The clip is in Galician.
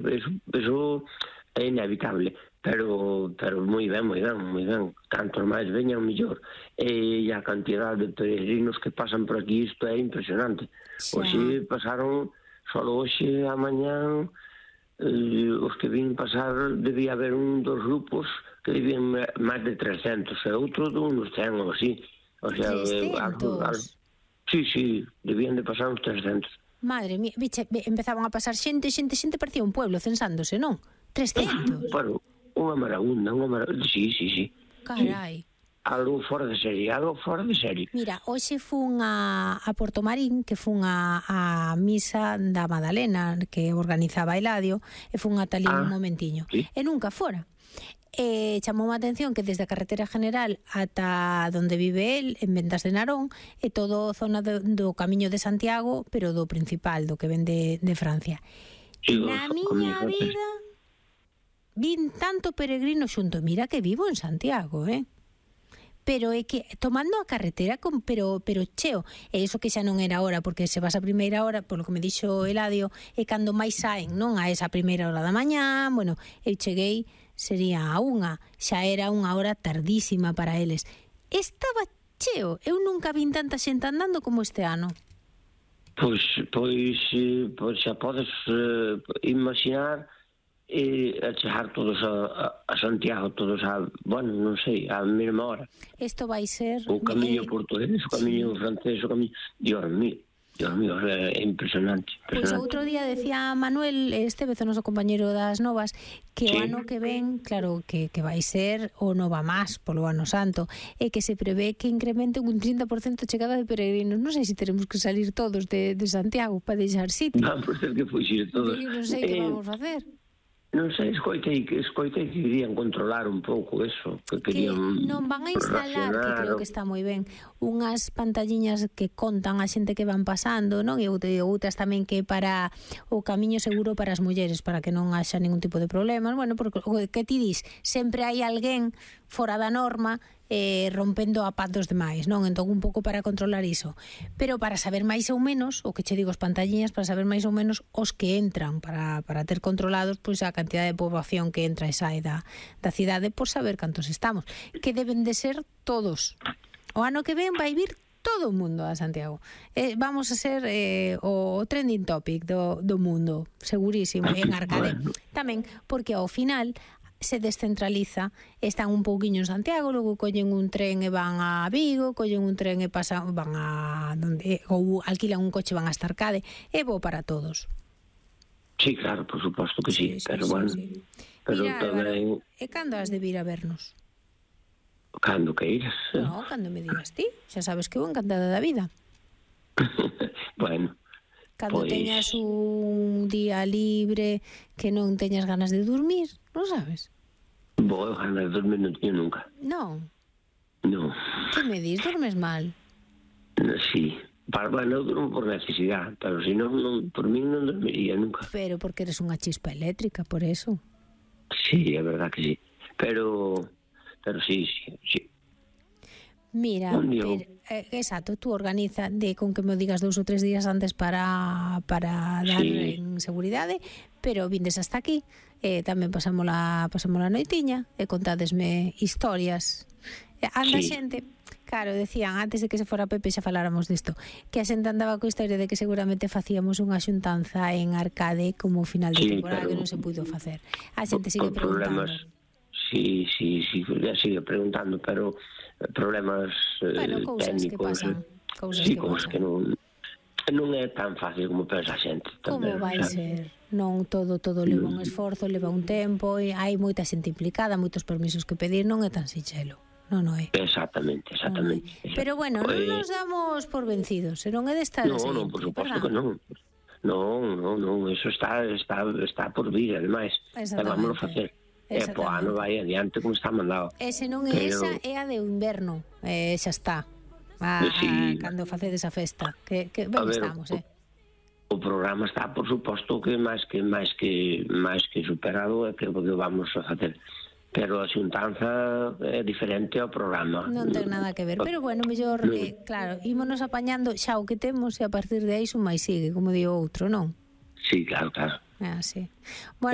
eso é inevitable, pero moi ben, tanto máis veñan mellor, e a cantidad de peregrinos que pasan por aquí, isto é impresionante. Hoxe pasaron, solo hoxe a mañá, os que vin pasar, debía haber un dos grupos que debían máis de 300, e outro de uns 100 ou así. O sea, 300? Sí, debían de pasar uns 300. Madre mía, biche, empezaban a pasar xente, parecía un pueblo censándose, non? 300? Bueno, unha maragunda, sí. Carai. Algo fora de serie. Mira, hoxe fun a Portomarín, que fun a misa da Madalena, que organizaba Eladio, e fun ata ali un momentiño. Sí. E nunca fora. Chamou a atención que desde a carretera general ata donde vive el, en Ventas de Narón, é todo zona do Camiño de Santiago, pero do principal, do que ven de Francia. Sí, na miña vida vin tanto peregrino xunto. Mira que vivo en Santiago, pero é que tomando a carretera pero cheo, e iso que xa non era hora, porque se vas a primeira hora, por lo que me dixo Eladio, é cando máis saen, non a esa primeira hora da mañá. Bueno, eu cheguei, sería a unha, xa era unha hora tardísima para eles. Estaba cheo, eu nunca vin tanta xente andando como este ano. Pois xa podes imaginar a chegar todos a Santiago, todos bueno, non sei, a mesma hora. Isto vai ser... O camiño portugués, o camiño francés, o camiño... Dios mío, é impresionante. Pois outro día decía Manuel Estevez, o noso compañeiro das Novas, que o ano que ven, claro, que vai ser o Nova Más polo ano santo, e que se prevé que incremente un 30% a chegada de peregrinos. Non sei se teremos que salir todos de Santiago para deixar sitio. Vamos ter que fuxir todos. Non sei que vamos facer. Non sei, escoitei que querían controlar un pouco eso, que querían... Que non van a instalar, que creo que está moi ben, unhas pantalliñas que contan a xente que van pasando, non? E outras tamén que para o camiño seguro para as mulleres, para que non haxa ningún tipo de problemas. Bueno, porque o que ti dis, sempre hai alguén fora da norma rompendo a paz dos demais, non? Entón un pouco para controlar iso, pero para saber máis ou menos, o que che digo, as pantalliñas, para saber máis ou menos os que entran, para ter controlados pois a cantidad de poboación que entra e sae da cidade, por saber cantos estamos, que deben de ser todos. O ano que ven vai vir todo o mundo a Santiago. Vamos a ser o trending topic do mundo, segurísimo, en Arcade. Tamén porque ao final se descentraliza, están un pouquiño en Santiago, logo collen un tren e van a Vigo, collen un tren e pasan, van a donde, ou alquilan un coche, van a Arcade, é bo para todos. Sí, claro, por suposto que sí, pero bueno. Sí. Pero mira, tamén... E cando has de vir a vernos? Cando que iras? No, cando me digas ti, xa sabes que eu encantada da vida. Bueno, cando teñas un día libre, que non teñas ganas de dormir, non sabes? Vou ganas de dormir non teño nunca. Non? Non. Que me dis? Dormes mal? Sí. Bueno, eu durmo por necesidade, pero se non, por mí non dormiría nunca. Pero porque eres unha chispa eléctrica, por eso. Sí, é verdad que sí. Pero sí. Mira, exacto, tú organiza con que me digas 2 ou 3 días antes para dar en seguridade, pero vindes hasta aquí, tamén pasamos a noitiña e contádesme historias. Anda xente, claro, decían antes de que se fora Pepe xa faláramos disto, que a xente andaba coa historia de que seguramente facíamos unha xuntanza en Arcade como final de temporada, que non se puido facer. A xente sigue preguntando. Sí, ya sigue preguntando, pero problemas cousas técnicos. Cousas que non é tan fácil como pensa a xente. Como vai ser? Non todo leva un esforzo, leva un tempo, e hai moita xente implicada, moitos permisos que pedir, non é tan sinxelo. Non é. Exactamente. Pero bueno, non nos damos por vencidos, se non é desta seguinte. Non, por suposto que non. Non, eso está por vir, ademais. Vámonos a facer. Po ano vai adiante como está mandado. E se non é esa, é a de inverno, xa está. Cando facedes a festa, que ben estamos, O programa está, por suposto, que máis que superado, é que vamos a facer. Pero a xuntanza é diferente ao programa. Non ten nada que ver, pero bueno, mellor, claro, ímonos apañando xa o que temos e a partir de aí un máis sigue, como di o outro, non? Sí, claro. É así. Bueno,